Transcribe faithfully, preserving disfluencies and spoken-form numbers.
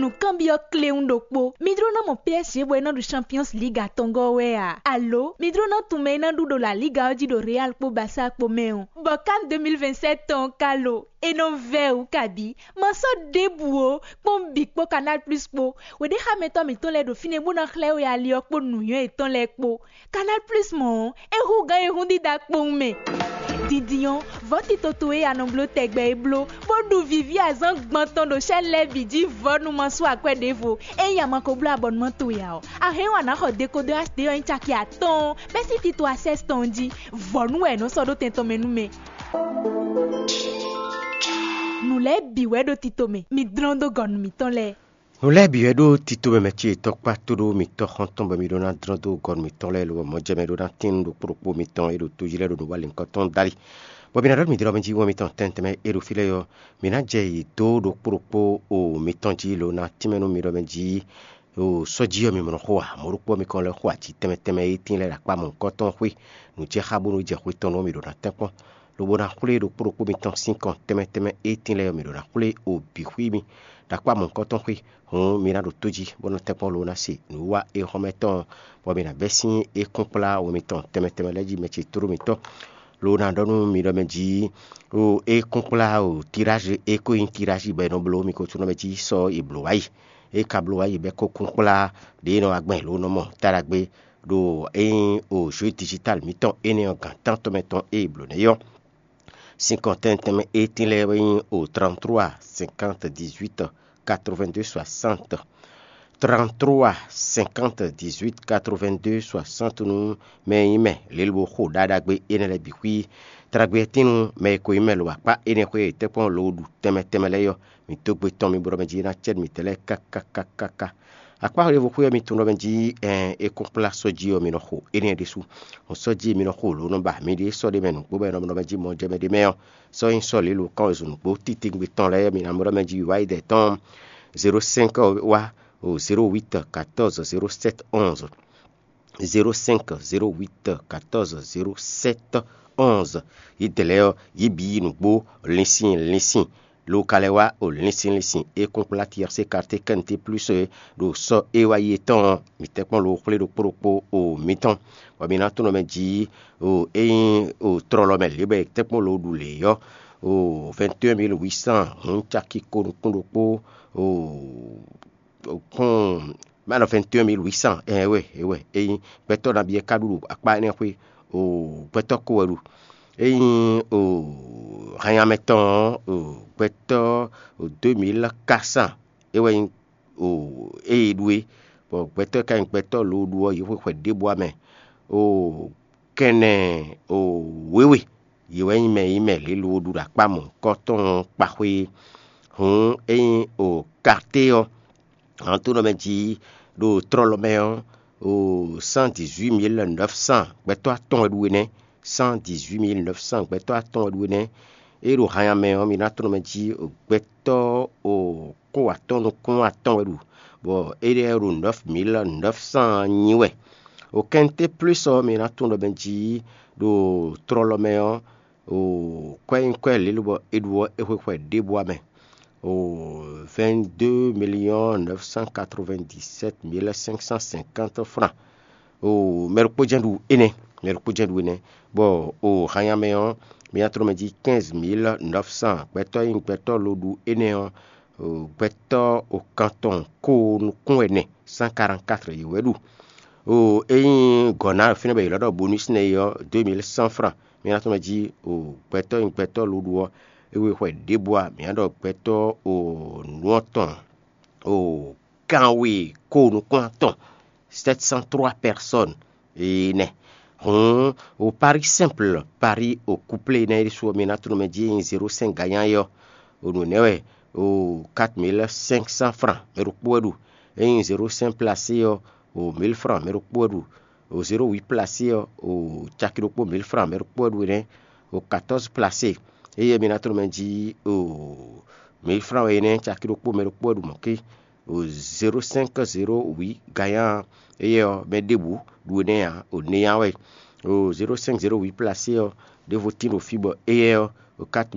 Nǔkanbyɔ́ kléwún ɖokpó. Mi jló ná mɔ P S G bɔ é ná ɖu Champions League atɔngɔ́ wɛ a? Alo mi jló ná tunwun mɛ e ná ɖu ɖo La Liga ɔ́ jí ɖo Real kpó Barça kpó mɛ ɔ́? Bɔ CAN deux mille vingt-sept tɔn ɔ́ ka lo? É nɔ vɛ́ wǔ kabǐ. Ma sɔ́ ɖěbǔ ó, kpɔ́n bǐ kpó Canal Plus kpó. Weɖéxámɛtɔ́ mǐtɔn lɛ́ɛ ɖo fínɛ́ bó ná xlɛ́ we ali ɔ́ kpó nǔnywɛ́ yětɔn lɛ́ɛ kpó. Canal Plus mɔ̌ ɔ́, é hú gǎn e hún dídá kpowun mɛ. Dindin ɔ́, vɔ̌ tito towe e a nɔ bló tɛgbɛ é bló, bó ɖu vǐví azǎn gbɔn tɔn ɖo chaîne lɛ́ɛ bǐ jí vɔ̌ nú ma sú akwɛ́ ɖěvo. Ényí a ma ko bló abɔnumán towe ǎ ɔ́, a hɛn ɔ́ a nǎ xɔ dekodɔ aste ɔ́ nyí caki atɔ́ɔ́n bɛ́ sín tito Access tɔn jí. Vɔ̌ nú wɛ è nɔ sɔ́ ɖó tɛn tɔn mɛ nú mɛ. Nǔ lɛ́ɛ bǐ wɛ ɖo tito mɛ, mi dlɔ́n dó gɔ̌ nú mǐtɔn lɛ́ɛ. Nǔ lɛ́ɛ bǐ wɛ ɖó tito mɛ mɛ ce tɔkpá tó ɖó mitɔ́ xɔ́ntɔn bɔ mi ɖó ná dlɔ́n dó gɔnu mitɔn lɛ́ɛ lobɔ mɔjɛmɛ ɖó ná tín ɖokpó ɖokpó mitɔn e ɖo tojí lɛ́ɛ ɖo nǔ wa lǐnkɔ tɔn dali. Bɔ mi ná ɖɔ mǐ ɖɔ mɛ jí wɔ mitɔn tɛntɛnmɛ e ɖo fí lɛ́ɛ ɔ́, mǐ ná jɛ yě dó ɖokpó ɖokpó o mitɔn jí lǒ ná tínmɛ nú mi ɖɔ mɛ jí o sɔ́ jí ɔ́ mi mɔ xó ǎ. Mɔ̌ ɖokpó ɔ́ mi kɔn lɛ́ xo aji tɛnmɛ tɛnmɛ e tín lɛ́ɛ ɖo akpá mɔ̌hunkɔtɔn xwé. Nǔ jɛ xá bónú jɛ xwé tɔn nú mi ɖo ná tɛ́nkpɔ́n, lobo ná xwlé ɖokpó ɖokpó mitɔn sín kɔn tɛnmɛ tɛnmɛ e tín lɛ́ɛ ɔ́ mi ɖo ná xwlé o bǐ xwí mi ɖo akpá mɔ̌hunkɔtɔn xwé. Hǔn mi ná ɖo tó jí bó nɔ tɛ́nkpɔ́n lobo ná se nǔwiwa e xɔ́mɛ tɔn ɔ́, bɔ mi ná bɛ́ sín é kún kplá wɛ mitɔn tɛnmɛ tɛnmɛ lɛ́ɛ jí mɛ ce tlóló mitɔn. Lo ná ɖɔ nú mi ɖɔ mɛ jí o é kún kplá o tirázi e ko nyí tirázi bɔ è nɔ bló mi ko tunɔ mɛ jí sɔ e blǒ wá yi. É ka bló wá yi bɔ é ko kún kplá ɖě e nɔ wá gbɛn lo nɔ mɔ ta ɖagbe ɖo é nyí o jǒ digital mǐtɔn énɛ́ ɔ́ gǎn tántɔn mɛ tɔn e è blǒ nɛ́ ɔ́. Sin kɔntɛn tɛnmɛ étín lɛ́ɛ wɛ nyí o trente-trois cinquante dix-huit quatre-vingt-deux soixante. Trente-trois cinquante dix-huit quatre-vingt-deux soixante nú mɛ e nyí mɛ lělbo xo ɖaɖagbe énɛ́ lɛ́ɛ bǐ xwí. Taɖagbe ɔ́ tín nú mɛ e ko nyí mɛ lo akpá énɛ́ xwé e tɛ́nkpɔ́n lo ɖu tɛnmɛ tɛnmɛ lɛ́ɛ ɔ́, mi dó gbe tɔn mi bo ɖɔ mɛ jí ná cɛ́ mi tɛ́ lɛ́ɛ káká káká. Akpá ɖěvo xwé ɔ́ mi tunwun ɖɔ mɛ jí ɛn é kún kplá sɔ́ jí ɔ́ mi nɔ xo énɛ́ ɖésú. Hɔn sɔ́ jí mi nɔ xo lǒ nɔ ba mi ɖíe sɔ́ ɖé mɛ nǔgbó bɔ è nɔ nɔ mɛ jí mɔ jɛ mɛ ɖé mɛ ɔ́, sɔ́ nyí sɔ́ lě lo kán wezun nǔgbó titewungbe tɔn lɛ́ɛ mi ná mɔ ɖɔ mɛ jí wá yi dɛ tɔn zéro cinq wá o zéro huit quatorze zéro sept onze. Zéro cinq zéro huit quatorze zéro sept onze. Yi dɛ lɛ́ɛ ɔ́, yi bǐ yi nǔgbó linsin linsin. Lo ka lɛ́ wá o linsin linsin e kún kplá T R C quartier quinté plus e ɖo sɔ e wá yi tɔn ɔ́, mi tɛ́nkpɔ́n lo xwlé ɖokpó ɖokpó o mitɔn, bɔ mi ná tunɔ mɛ jí o é nyí o tlɔlɔ mɛ lě bɔ è tɛ́nkpɔ́n lo ɖu lě ɔ́, o vingt et un mille huit cent hun caki ko nukún ɖokpó o kún mɛ nɔ vingt et un mille huit cent ɛn wɛ é wɛ é nyí. Gbɛtɔ́ nabí é ka ɖu ɖo akpá énɛ́ xwé o gbɛtɔ́ ko wɛ ɖu. É nyí o hanyamɛ tɔn ɔ́, o gbɛtɔ́ o deux mille quatre cent é wɛ nyí o ée ɖu é, bɔ gbɛtɔ́ e ka nyí gbɛtɔ́ loɖu ɔ́, yě xwe xwɛ ɖěbǔ ǎ mɛ. O kɛnɛ o wěwe, yě wɛ nyí mɛ e nyí mɛ lě lowo ɖu ɖo akpá mɔ̌hunkɔtɔn ɔ́ kpa xwé é. Hǔn ényí o Karté ɔ́, hǎntonɔ mɛ jí ɖo tlɔlɔ mɛ ɔ́, o cent dix-huit mille neuf cent gbɛtɔ́ atɔn wɛ ɖu énɛ́. Cent dix-huit mille neuf cent gbɛtɔ́ atɔn wɛ ɖu énɛ́. Ée ɖo hanya mɛ ɔ́, mi ná tlɔ́n mɛ jí gbɛtɔ́ o kó atɔ́n nukún atɔn wɛ ɖu, bɔ éɖɛ́ ɖo neuf mille neuf cent nyi wɛ. O kɛnté plus ɔ́, mi ná tunwun ɖɔ mɛ jí ɖo tlɔlɔ mɛ ɔ́, o kwɛ́ nyí kwɛ́ lě lobɔ è ɖu ɔ́, é xwe xwɛ ɖěbǔ ǎ mɛ. O vingt-deux millions neuf cent quatre-vingt-dix-sept mille cinq cent cinquante francs. O mɛ ɖokpó jɛ́n ɖu énɛ́, mɛ ɖokpó jɛ́n ɖu énɛ́, bɔ o hanya mɛ ɔ́, mi ná tlɔ́n mɛ jí quinze mille neuf cent gbɛtɔ́ e nyí gbɛtɔ́ loɖu énɛ́ ɔ́, o gbɛtɔ́ o kantɔn ko nukún ɛnɛ, cent quarante-quatre yě wɛ ɖu. O ényí gɔ̌ ná fínɛ́ bɔ yě lɔ́ ɖɔ bonus nɛ́ é ɔ́, deux mille cent francs. Mi ná tɔ́n mɛ jí o gbɛtɔ́ e nyí gbɛtɔ́ loɖu ɔ́, é we xwɛ ɖěbǔ ǎ, mǐ ná ɖɔ gbɛtɔ́ o nǔ ɔ́ tɔn o kanwe ko nukún atɔn, sept cent trois personnes énɛ́. Hǔn o pari simple, pari o couplé énɛ́ ɖésú ɔ́, mi ná tunwun mɛ jí e nyí zéro cinq gagnant é ɔ́, o nǔ énɛ́ wɛ o quatre mille cinq cent francs mɛ ɖokpó wɛ ɖu. Ényí zéro cinq placé ɔ́, o mille francs mɛ ɖokpó wɛ ɖu. O zéro huit placé ɔ́, o caki ɖokpó mille francs mɛ ɖokpó wɛ ɖu énɛ́. O quatorze placé, éyɛ́ mi ná tunwun mɛ jí o mille francs wɛ énɛ́, caki ɖokpó mɛ ɖokpó wɛ ɖu mɔ̌ ké. O zéro cinq zéro huit gagnant ɔ́, éyɛ́ ɔ́, mɛ ɖěbǔ ɖu énɛ́ ǎ, o néa wɛ. O zéro cinq zéro huit placé ɔ́, ɖěvo tín ɖo fí bɔ éyɛ́ ɔ́, o quatre